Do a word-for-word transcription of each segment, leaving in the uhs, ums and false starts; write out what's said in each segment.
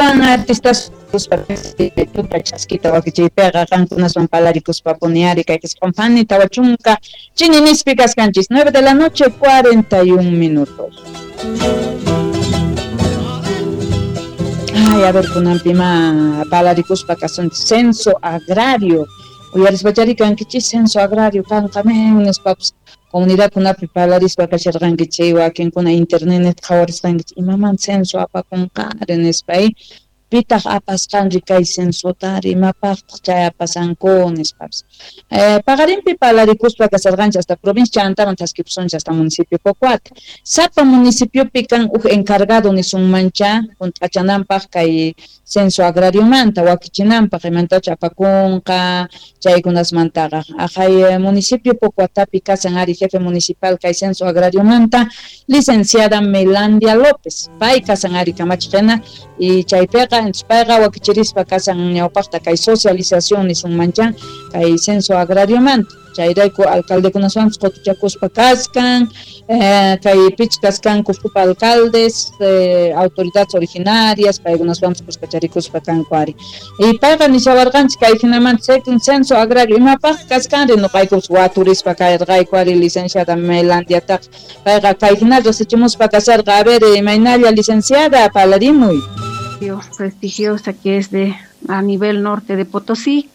Astawan artistas tuta chaskita wakichiypiqa qankunaswan palarikuspapuni ari kay qisqunpani tawa chunka chininispi kaskanchis nueve de la noche cuarenta y un minutos. Ay, a ver, kunanpima palarikuspa kasunchis censo agrario. Uyarispachari kankichis censo agrario kanqamen nispapas comunidadkunapi palarispa kasharqankichik wakinkuna internet qhawarisqankichik imaman censo apakunqari nispa pitaq apasqanri kay censotari imapaqtaq chay apasanku nispapas. Eh, paqarinpi palarikuspa kasarqanchik hasta provincia chantaman thaskipusunchik hasta municipio Pocoata. Sapa municipiopi kan uj encargado nisunmancha hunt'achananpaq kay censo agrariomanta wakichinanpaq imantachu apakunqa chaykunasmantaqa. Aqhay municipio Pocoatapi kasan ari jefe municipal kay censo agrariomanta licenciada Melandia López. Pay kasan ari kamachiqhina y chaypiqa entonces payqa wakichirispa kasan ñawpaqta kay socialización nisunmancha kay censo agrariomanta. Chayrayku alcaldekunaswanpis qutuchakuspa kaskan eh, kay pich kaskanku supa alcaldes eh, autoridades originarias paykunaswanpis kuskacharikuspa kanku ari. Y payqa nishawarqanchik kay hinamanta censo agrario imapaq kaskanri nuqaykupas waturispa karqayku ari licenciada Melandiataqa payqa kay hina riqsichimuspa kasarqa. A ver, imaynalla licenciada palarimuy. Prestigiosa que es de a nivel norte de Potosí,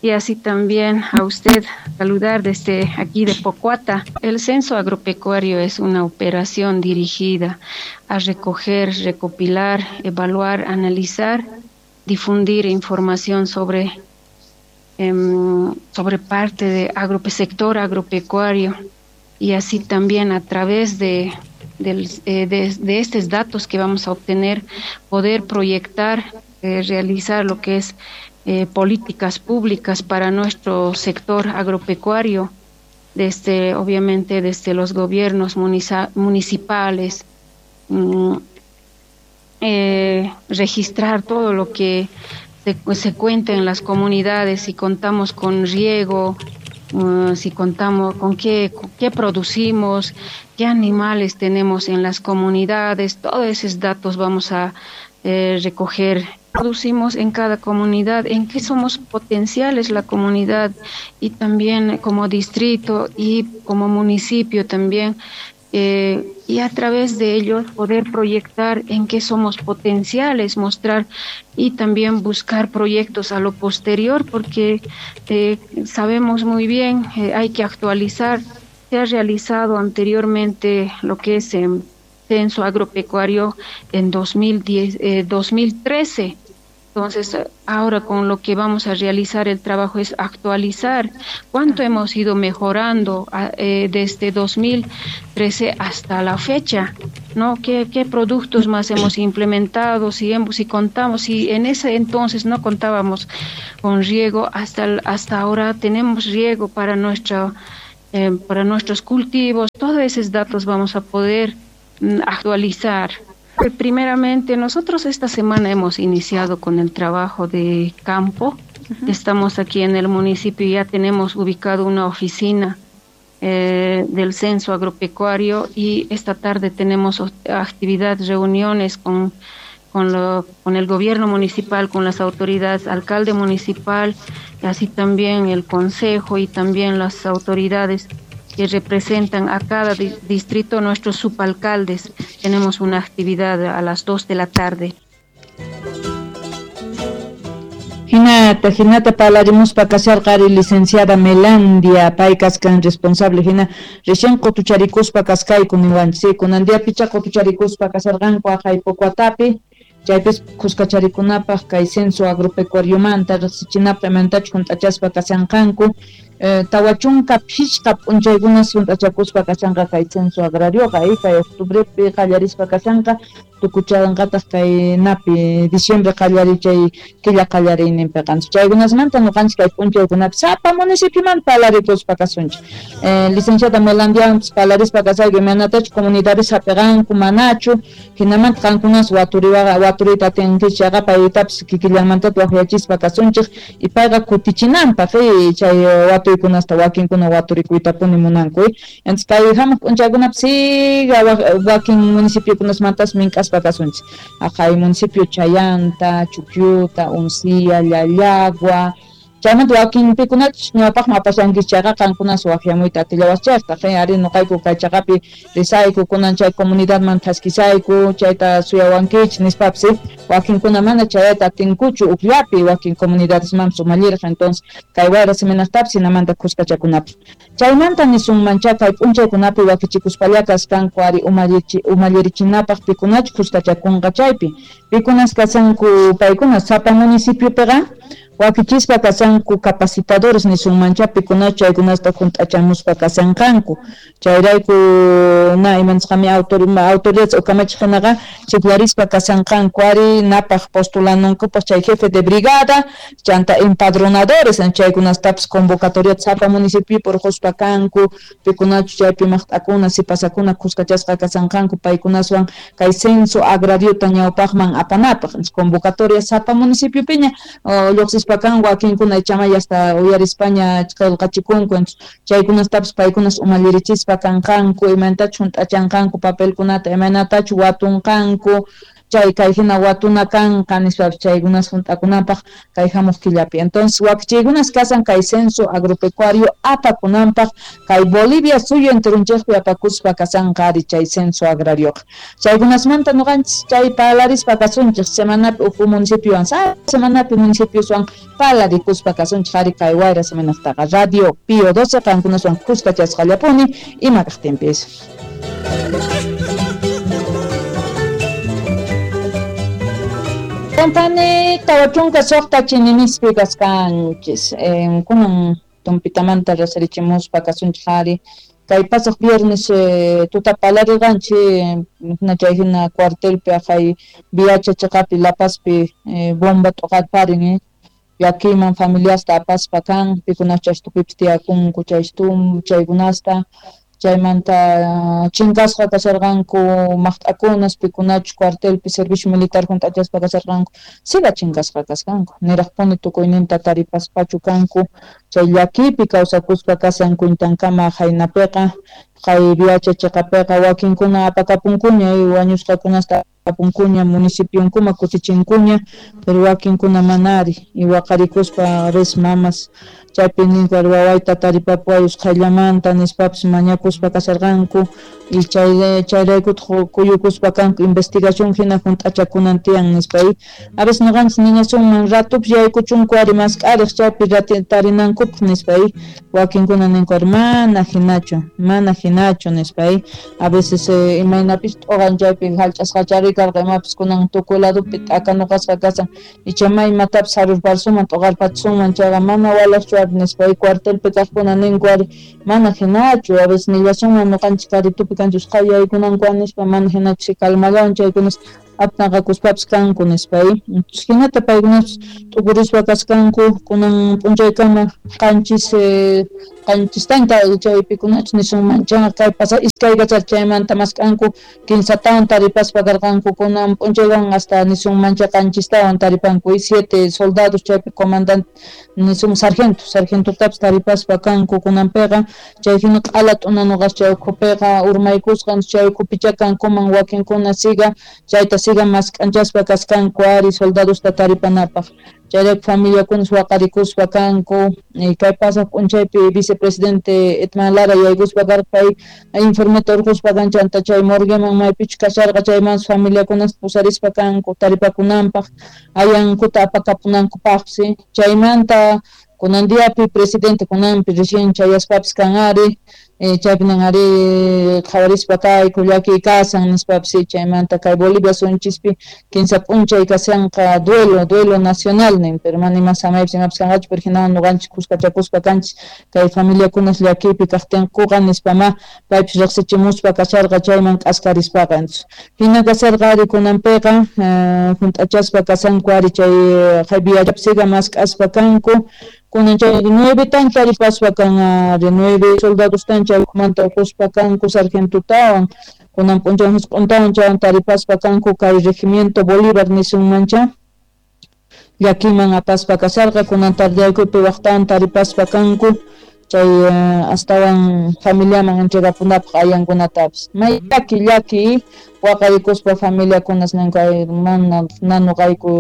y así también a usted saludar desde aquí de Pocoata. El censo agropecuario es una operación dirigida a recoger, recopilar, evaluar, analizar, difundir información sobre, eh, sobre parte de agrope, sector agropecuario, y así también a través de Del, eh, de, de estos datos que vamos a obtener, poder proyectar, eh, realizar lo que es eh, políticas públicas para nuestro sector agropecuario, desde, obviamente desde los gobiernos muniza, municipales, mm, eh, registrar todo lo que se, se cuenta en las comunidades, si contamos con riego, uh, si contamos con qué, con qué producimos, qué animales tenemos en las comunidades, todos esos datos vamos a eh, recoger. Producimos en cada comunidad, en qué somos potenciales la comunidad, y también como distrito y como municipio también, eh, y a través de ellos poder proyectar en qué somos potenciales, mostrar y también buscar proyectos a lo posterior, porque eh, sabemos muy bien, eh, hay que actualizar. Se ha realizado anteriormente lo que es eh, censo agropecuario en dos mil diez, eh, dos mil trece. Entonces, ahora con lo que vamos a realizar el trabajo es actualizar cuánto hemos ido mejorando eh, desde dos mil trece hasta la fecha, ¿no? ¿Qué, qué productos más hemos implementado? Si, hemos, si contamos, si en ese entonces no contábamos con riego, hasta, hasta ahora tenemos riego para, nuestra, eh, para nuestros cultivos. Todos esos datos vamos a poder mm, actualizar. Primeramente, nosotros esta semana hemos iniciado con el trabajo de campo. Uh-huh. Estamos aquí en el municipio y ya tenemos ubicado una oficina eh, del censo agropecuario, y esta tarde tenemos actividad, reuniones con, con, lo, con el gobierno municipal, con las autoridades, alcalde municipal, así también el consejo y también las autoridades que representan a cada di- distrito, nuestros subalcaldes. Tenemos una actividad a las dos de la tarde. Hinata, hinata palarimuspa kasharqari licenciada Melandia, pay kaskan responsable, hina recién qutucharikuspa kaskayku niwanchik, kunan diapicha qutucharikuspa kasharqanku aqhay Pocoatapi, chaypis kuskacharikunapaq kay censo agropecuariomanta riqsichinapaq imantachu hunt'achaspa kashanqanku. Eh, tawa chunka phishqa p'unchaykunas hunt'achakuspa kashanqa kay censo agrarioqa, eh, kay octubrepi qallarispa kashanqa, tukuchanqataq kay napi diciembre qallari chay killa qallariyninpiqa. Chaykunasmanta ñuqanchik kay p'unchaykunapi sapa municipioman palarikuspa kasunchik. Eh, licenciada Melandiawanpis palarispa kasayku imaynatachu comunidades hapiqanku manachu, hinamanta qankunas waturiwaqa waturiyta atinkichik chayqa paytapis kikillanmantata waqyachispa kasunchik y payqa kutichinanpaq eh, chay watu watuykunasta wakinkuna waturikuytapuni munanku. Entonces kay hamuq p'unchaykunapi siga wakin municipiokunasmantas mink'aspa kasunchis aqhay municipio Chayanta, Chukyuta, Uncia, Llallagua. Chaymanta wakinpikunachus ñawpaqman apashankichis chayqa qankunas waqyamuyta atillawaschaypaq ari nuqayku kay chaqapi risayku kunan chay comunidadman thaskisayku chayta suyawankichis nispapis wakinkuna mana chayayta atinkuchu ukllapi wakin comunidadesmanpis umallirqa. Entonces kay wayra seminartapis hinamanta kuskachakunapaq chaymanta nisunmancha kay p'unchaykunapi wakichikuspalla kaskanku ari umallirichinapaq pikunachus kuskachakunqa chaypi pikunas kasanku paykuna sapa municipiopiqa wakichispa kasanku capacitadores nisunmancha pikunachu chaykunasta junt'achamuspa kasanqanku chayrayku na imanisqami autoridades o kamachiq hinaqa chiklarispa kasanqanku ari napaq postulanankupaq chay jefe de brigada chanta empadronadores chaykunastapis convocatoriata sapa municipiopi urquspa kanku pikunachu chaypi maqt'akuna sipasakuna kuskachasqa kasanqanku paykunaswan kay censo agrariota ñawpaqman apanapaq convocatoria sapa municipiopiña lluqsispa kan wakinkuna ichamay hasta uyarispaña qillqachikunku chaykunastapis paykunas umallirichispa kanqanku imaynatachu hunt'achanqanku papelkunata imaynatachu watunqanku chay kay hina watuna kanqa nispapis chaykunas hunt'akunanpaq kay hamuq killapi. Entonces wakichiykunas kasan kay censo agropecuario apakunanpaq kay Bolivia suyu enterunchikpi apakuspa kasanqa ari chay censo agrarioqa chaykunasmanta nuqanchis chay parlarispa kasunchik semanapi uj municipiowan sa semanapi municipioswan parlarikuspa kasunchik ari kay wayra semanaqtaqa Radio Pío doce qankunaswan kuskachasqallapuni ima kaqtinpis. Company tawa chunka suqta chininispi kaskanchis eh, kunan tumpitamanta rasarichimuspa kasunchik ari kay pasaq viernes eh, tuta parlarirqanchik hina chay hina cuartelpi aqhay Viacha chaqapi La Pazpi eh, bomba t'uqarparin eh. Llakiman familiasta apaspa kan pikunas chaystupipis tiyakunku chaystum chaykunasta chaymanta chinkasqa kasharqanku maqt'akunas pikunachu cuartelpi servicio militar hunt'achaspa kasharqanku siga chinkasqa kasqanku niraqpuni tukuyninta taripaspachu kanku chay llakipi kawsakuspa kasan kuintankama haynapiqa kay Viacha chaqapiqa wakinkuna apakapunkuña wañusqakunasta apunkuña municipionkuma kutichinkuña pero wakinkuna manari y waqarikuspa res mamas chaypi ninku wawayta taripapuway usqhayllamanta nispapis mañakuspa kasharqanku y chay chayraykutaq kuyukuspa kanku investigación hina hunt'achakunan tiyan nispa a veces nuqanchis niñasunman ratupis yaykuchunku ari mask'ariq chaypi tarinankupaq nispa wakinkuna ninku ari mana hinachu mana hinachu nispa a veces eh, imaynapis t'uqan chaypi hallch'asqachari karqa imapis kunan tukuy ladopi t'akanuqasqa kasan icha imatapis harurparsuman t'uqarpachisunman chayqa mana walaqchu ari nispa cuartelpi kaqkuna ninku ari mana hinachu a veces nillasunman nuqanchis karitupi kanchis usqhay yaykunanku nispa mana hinachu calmallawan chaykunas aptanqakuspapis kanku nispa hinata paykunas t'ukurispa kaskanku kunan p'unchaykama qanchis eh, qanchistanta chaypikunachus nisunman chayqa kay pasa iskay kachar chaymanta mask'anku kinsatawan taripaspa karqanku kunan p'unchaywan hasta nisunman chay qanchistawan taripanku y siete soldados chaypi comandante nisun sargento sargentotapis taripaspa kanku kunanpiqa chay hina q'ala t'unanuqas chay ukhupiqa urmaykusqa chay ukhupicha kankuman wakinkuna siga chayta siga mask'anchaspa kaskanku ari soldadosta taripanapaq chayrayku familiakunas waqarikuspa kanku kay pasaq p'unchaypi vicepresidente Edman Lara yaykuspa karqa pay informeta urquspa kan chanta chay morgueman maypichu kasharqa chaymanpas familiakunas pusarispa kanku taripakunanpaq ayankuta apakapunankupaqsi chaymanta kunan diapi presidente kunanpi recién chayaspapis kan ari eh, chaypinan ari qhawarispa kayku llakiy kasan nispapis chaymanta kay Bolivia sunchispi kinsa p'unchay kasanqa duelo duelo nacional nin pero mana ima samaypis imapis kanqachu pero hinawan nuqanchis kuskachakuspa kanchis kay familiakunas llakiypi kaqtinkuqa nispama paypis riqsichimuspa kasharqa chayman k'askarispaqa hina kasharqa ari kunanpiqa eh, hunt'achaspa kasanku ari chay Viachapi mask'aspa kanku kunan chay nueve tan taripaspa kan ari nueve soldados tan chay ukhumanta uquspa kanku sargentotawan kunan p'unchay husq'untawan chaywan taripaspa kanku kay regimiento Bolívar nisunmancha llakiman apaspa kasharqa kunan tardeyaykupi waqtawan taripaspa kanku Chay astawan familiaman entregapunapaq ayankunatapis may llaki llaki waqarikuspa familiakunas ninku mana nanuqayku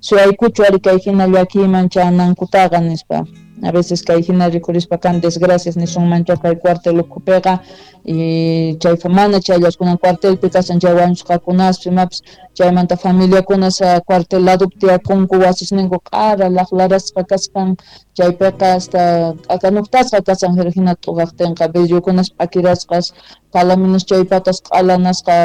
suyaykuchu ari kay hina llakiyman chanankutaqa nispa. A veces kay hina rikurispa kan desgracias nisunmancha kay cuartel ukhupiqa y chay mana chayllakunan cuartelpi kashan chay wañusqakunaspi imapis chaymanta familiakunas cuartel ladopi tiyakunku wasisninku q'ara laqlarasqa kasqan chaypiqa hasta k'akanuktasqa kashan hina t'uqaqtinqa vidriokunas p'akirasqas palaminos chay patas q'alanasqa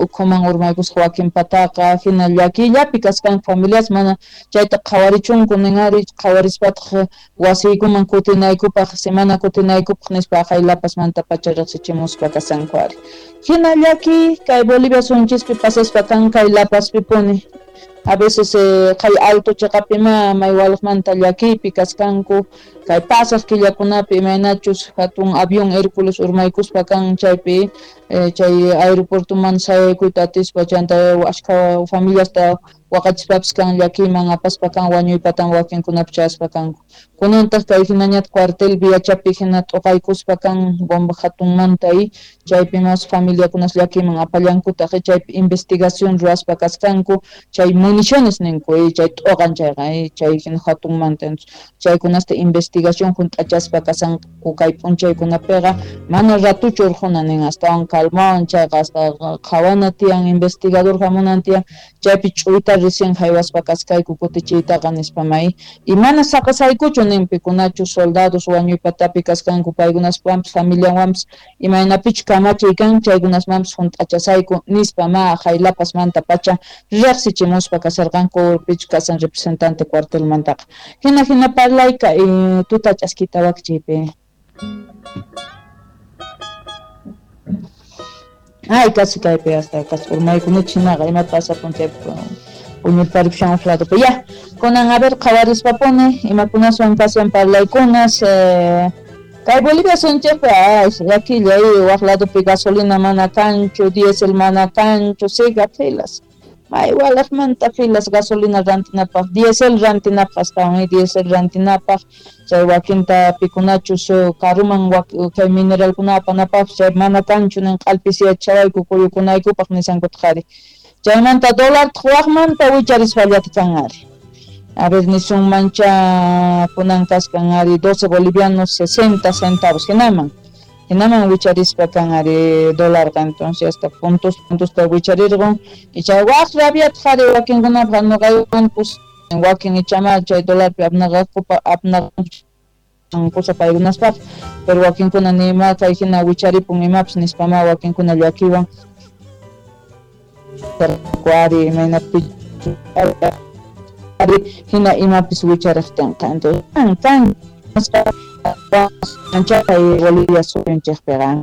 ukhuman urmaykusqa wakin pataqa hina llakiyllapi kasqanku familias mana chayta qhawarichunku nin ari qhawarispataq wasiykuman kutinaykupaq semana kutinaykupaq nispa aqay La Pazmanta pacha riqsichimuspa kasanku ari hina llaki kay Bolivia sunchispi pasaspa kan kay La Pazpipuni a veces eh, kay alto chiqapima may walaqmanta llakiypi kaskanku kay pasaq killakunapi imaynachus hatun avión Hércules urmaykuspa kan chaypi eh, chay aeropuertoman sayaykuyta atispa chanta ashkha familiasta waqachispapis kan llakiyman apaspa kan wañuypatan wakinkunapi chayaspa kanku kunantaq kay hinañata cuartel Viachapi hina t'uqaykuspa kan bomba hatunmanta y chaypi mas familiakunas llakiyman apallankutaq chaypi investigación ruwaspa kaskanku chay municiones ninku y chay t'uqan chayqa y chay hina hatunmanta chaykunasta investigación hunt'achaspa kasanku kay p'unchaykunapiqa mana ratuchu urquna nin astawan calmawan chayqa hasta qhawana tiyan investigador hamunan tiyan chaypi ch'uyta recién haywaspa kaskayku kutichiytaqa nispa may y mana saqasaykuchu nin pikunachu soldados wañuypatapi kaskanku paykunaswanpis familianwanpis imaynapichu kamachiy kan chaykunasmanpis hunt'achasayku nispa ma aqhay La Pazmanta pacha riqsichimuspa kasarqanku pichu kasan representante cuartelmantaqa hina hina parlayka y tuta ch'askita wakchiypi. Ay, casi kaypi hasta casi urmaykunichik hinaqa ima pasapun chaypi puñurparipushan uq ladopi ya kunan a ver qhawarispapuni imakunaswan kashan parlaykunas eh, kay Bolivia sunchikpi ay llakilla waq ladopi gasolina mana kanchu diésel mana kanchu siga filas may walaqmanta filas gasolina rantinapaq diésel rantinapaq astawan diésel rantinapaq chay wakinta pikunachus karuman kay mineralkuna apanapaq chay mana kanchu nin q'alpisiyachawayku kuyukunaykupaq nisankutaq ari chaymanta dólar waqmanta wicharispallata kan ari a ver nisunmancha kunan kaskan ari doce bolivianos sesenta centavos hinaman hinaman wicharispa kan ari dólarqa entonces hasta puntos puntosta wicharirqun y chay waq rabiataq ari wakinkunapaq nuqaywanpus wakin ichama chay dólarpi apnaqakupa apnaqanku kusa paykunaspaq pero wakinkuna nima kay hina wicharipun imapis nispama wakinkuna llakiwan ari imaynapi ari hina imapis wichariqtinqa entonces kan kan chay Bolivia suyunchikpiqa.